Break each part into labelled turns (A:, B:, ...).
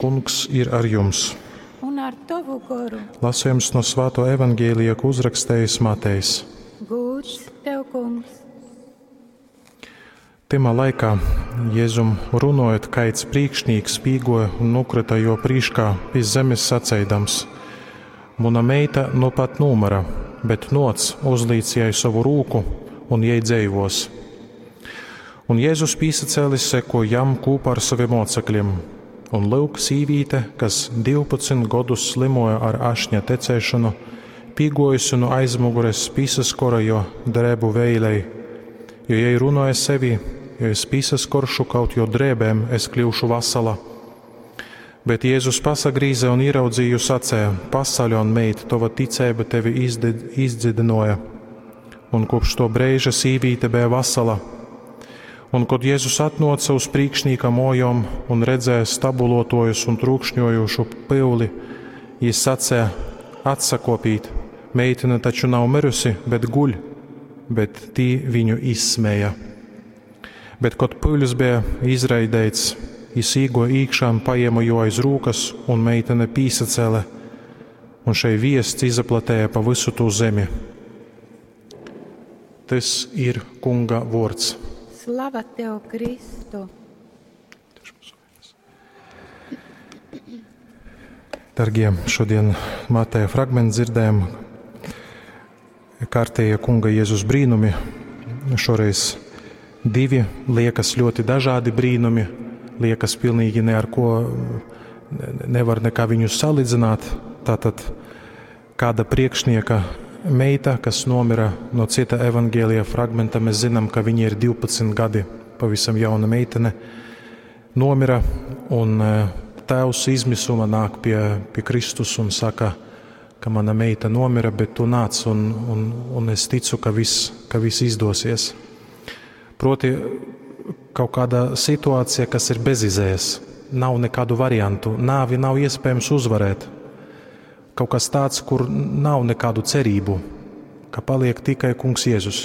A: Kungs ir ar jums!
B: Un ar tovu goru.
A: Lasījums no Svāto evaņģēlija, ko uzrakstījis Matejs.
B: Gūds tev, kungs!
A: Tymā laikā Jēzum runojot, kaids prīkšnīks pīgoja un nukrita jo prīškā pi zemes saceidams: Muna meita nu pat nūmyra, bet nōc, uzlīc jai sovu rūku, un jei dzeivōs. Un Jēzus pīsacēlis seko jam kūpā ar saviem mocekļiem. Un lyuk, sīvīte, kas 12 godus slimoja ar ašņa tecēšanu, pīgojusi no aizmugures pīsaskora jo drēbu veilei, jo jai runoja sevi, jo es pīsaskoršu kaut jo drēbēm, es kļūšu vasala. Bet Jēzus pasagrīze un ieraudzīju sacēja: Pasaļon, meit, tova ticēba tevi izdzidinoja. Un kopš to brīža sīvīte bija vasala. Un, kad Jēzus atnāca uz prīkšnīka mojom un redzēja stabulotojus un trūkšņojošu pyuli, jis sacēja: Atsakopīt, meitene taču nav mirusi, bet guļ, bet tī viņu izsmēja. Bet, kad pyulis bija izraidēts, jis īgoja īkšā un paēma jo aiz rūkas, un meitene pīsacēle, un šai viests izaplatēja pa visu tū zemi. Tas ir Kunga vords.
B: Slava tev, Kristu!
A: Dargie, šodien Mateja fragment dzirdējam kārtējie Kunga Jēzus brīnumi. Šoreiz divi liekas ļoti dažādi brīnumi, liekas pilnīgi ne ar ko nevar nekā viņus salīdzināt. Tātad kāda priekšnieka meita, kas nomira no cita evaņģēlija fragmenta, mēs zinām, ka viņa ir 12 gadi, pavisam jauna meitene, nomira, un tēvs izmisuma nāk pie, pie Kristus un saka, ka mana meita nomira, bet tu nāc un, un, un es ticu, ka viss, ka viss izdosies. Proti, kaut kāda situācija, kas ir bezizējas, nav nekādu variantu, nāvi nav iespējams uzvarēt. Kaut kas tāds, kur nav nekādu cerību, ka paliek tikai Kungs Jēzus.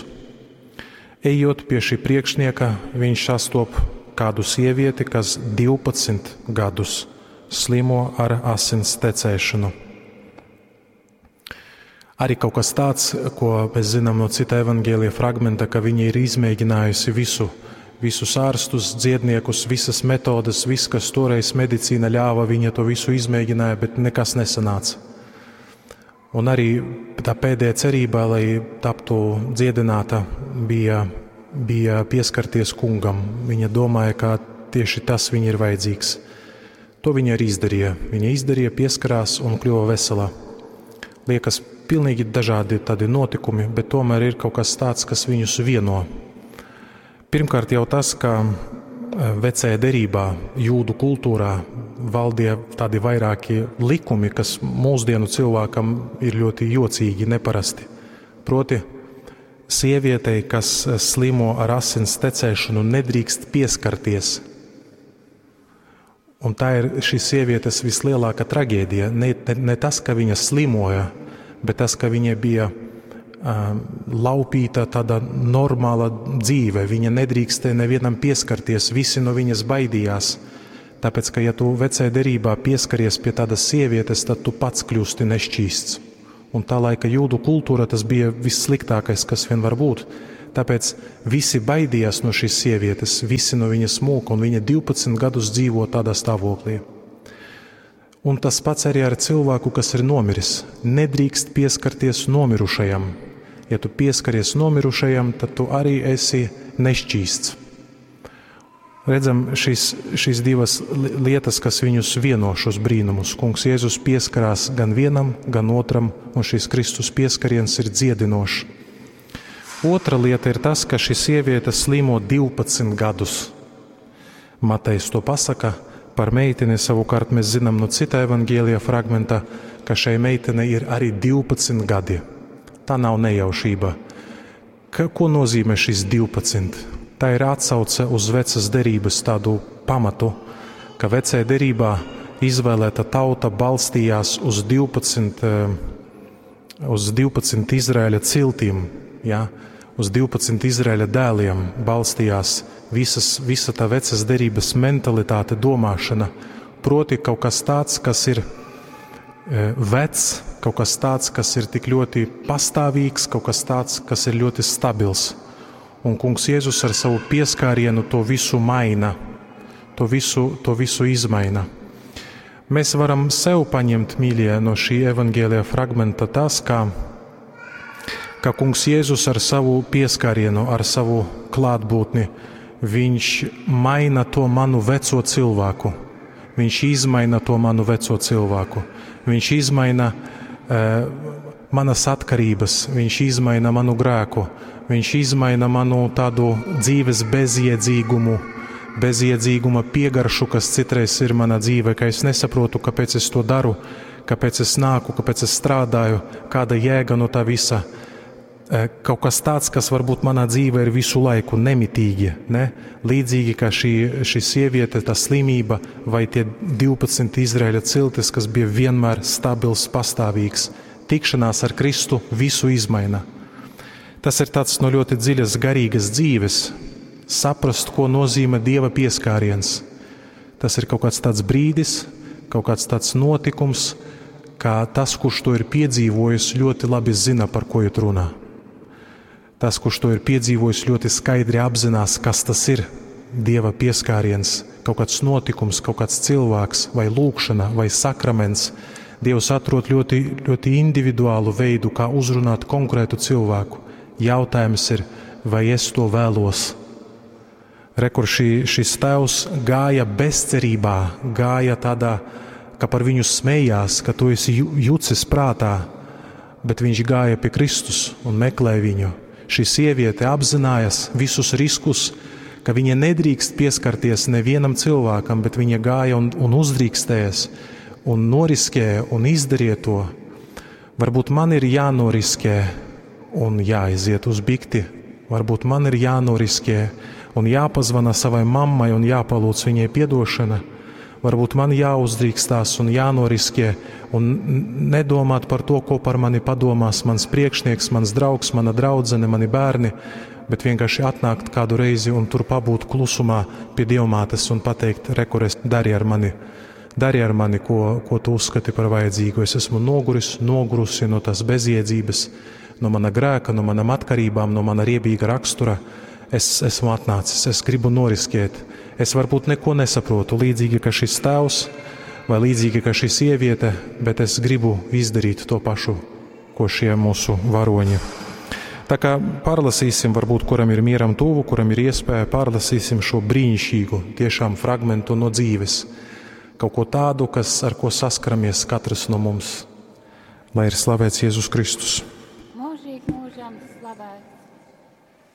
A: Ejot pie šī priekšnieka, viņš sastop kādu sievieti, kas 12 gadus slimo ar asins tecēšanu. Arī kaut kas tāds, ko mēs zinām no cita evaņģēlija fragmenta, ka viņa ir izmēģinājusi visu, visus ārstus, dziedniekus, visas metodes, viss, kas toreiz medicīna ļāva, viņa to visu izmēģināja, bet nekas nesanāca. Un arī tā pēdējā cerība, lai taptu dziedināta, bija, bija pieskarties kungam. Viņa domāja, ka tieši tas viņai ir vajadzīgs. To viņa arī izdarīja. Viņa izdarīja, pieskarās un kļuva vesela. Liekas, pilnīgi dažādi tādi notikumi, bet tomēr ir kaut kas tāds, kas viņus vieno. Pirmkārt jau tas, ka vecajā derībā, jūdu kultūrā valdīja tādi vairāki likumi, kas mūsdienu cilvēkam ir ļoti jocīgi, neparasti. Proti, sievietei, kas slimo ar asins tecēšanu, nedrīkst pieskarties. Un tā ir šīs sievietes vislielākā traģēdija. Ne, ne, ne tas, ka viņa slimoja, bet tas, ka viņai bija laupīta tāda normāla dzīve. Viņa nedrīkstēja nevienam pieskarties, visi no viņas baidījās. Tāpēc, ka ja tu vecajā derībā pieskaries pie tādas sievietes, tad tu pats kļūsti nešķīsts. Un tā laika jūdu kultūra tas bija vissliktākais, kas vien var būt. Tāpēc visi baidījās no šīs sievietes, visi no viņas mūka, un viņa 12 gadus dzīvo tādā stāvoklī. Un tas pats arī ar cilvēku, kas ir nomiris. Nedrīkst pieskarties nomirušajam. Ja tu pieskaries nomirušajam, tad tu arī esi nešķīsts. Redzam šīs, šīs divas lietas, kas viņus vieno šos brīnumus. Kungs Jēzus pieskarās gan vienam, gan otram, un šis Kristus pieskariens ir dziedinošs. Otra lieta ir tas, ka šī sieviete slimo 12 gadus. Matejs to pasaka par meiteni, savukārt mēs zinām no cita evaņģēlija fragmenta, ka šai meitenei ir arī 12 gadi. Tā nav nejaušība. Ka, ko nozīmē šis 12? Tā ir atsauce uz vecas derības tādu pamatu, ka vecajā derībā izvēlēta tauta balstījās uz 12, uz 12 Izraēļa ciltīm, ja? uz 12 Izraēļa dēliem balstījās visas, visa tā vecas derības mentalitāte, domāšana. Proti kaut kas tāds, kas ir vecs, kaut kas tāds, kas ir tik ļoti pastāvīgs, kaut kas tāds, kas ir ļoti stabils. Un Kungs Jēzus ar savu pieskārienu to visu maina, to visu izmaina. Mēs varam sev paņemt, mīļie, no šī evaņģēlija fragmenta tas, ka Kungs Jēzus ar savu pieskārienu, ar savu klātbūtni, viņš maina to manu veco cilvēku. Viņš izmaina to manu veco cilvēku. Viņš izmaina manas atkarības, viņš izmaina manu grēku, viņš izmaina manu tādu dzīves bezjēdzīgumu, bezjēdzīguma piegaršu, kas citreiz ir mana dzīve, ka es nesaprotu, kāpēc es to daru, kāpēc es nāku, kāpēc es strādāju, kāda jēga no tā visa. Kaut kas tāds, kas varbūt manā dzīvē ir visu laiku nemitīgi, ne? Līdzīgi kā šī sieviete, tā slimība vai tie 12 Izraēļa ciltis, kas bija vienmēr stabils, pastāvīgs. Tikšanās ar Kristu visu izmaina. Tas ir tāds no ļoti dziļas garīgas dzīves, saprast, ko nozīmē Dieva pieskāriens. Tas ir kaut kāds tāds brīdis, kaut kāds tāds notikums, kā tas, kurš to ir piedzīvojis, ļoti labi zina, par ko iet runā. Tas, kurš to ir piedzīvojis, ļoti skaidri apzinās, kas tas ir Dieva pieskāriens, kaut kāds notikums, kaut kāds cilvēks vai lūkšana vai sakraments. Dievs atrod ļoti, ļoti individuālu veidu, kā uzrunāt konkrētu cilvēku. Jautājums ir, vai es to vēlos? Re, kur šis tēvs gāja bezcerībā, gāja tādā, ka par viņu smējās, ka tu esi jucis prātā, bet viņš gāja pie Kristus un meklēja viņu. Šī sieviete apzinājās visus riskus, ka viņa nedrīkst pieskarties nevienam cilvēkam, bet viņa gāja un uzdrīkstējās un noriskēja un izdarīja to. Varbūt man ir jānoriskē un jāiziet uz bikti, varbūt man ir jānoriskē un jāpazvana savai mammai un jāpalūdz viņai piedošana. Varbūt man jāuzdrīkstās un jānoriskē un nedomāt par to, ko par mani padomās mans priekšnieks, mans draugs, mana draudzene, mani bērni, bet vienkārši atnākt kādu reizi un tur pabūt klusumā pie Dievmātes un pateikt, re, kur es dari ar mani, dari ar mani, ko tu uzskati par vajadzīgu. Es esmu noguris, nogurusi no tās bezjēdzības, no mana grēka, no manām atkarībām, no mana riebīga rakstura. Es esmu atnācis, es gribu noriskēt. Es varbūt neko nesaprotu, līdzīgi kā šis tēvs vai līdzīgi kā šī sieviete, bet es gribu izdarīt to pašu, ko šie mūsu varoņi. Tā kā pārlasīsim, varbūt kuram ir mieram tuvu, kuram ir iespēja, pārlasīsim šo brīnišķīgu tiešām fragmentu no dzīves. Kaut ko tādu, ar ko saskaramies katrs no mums. Lai ir slavēts Jēzus Kristus.
B: Mūžīgi mūžam slavēts.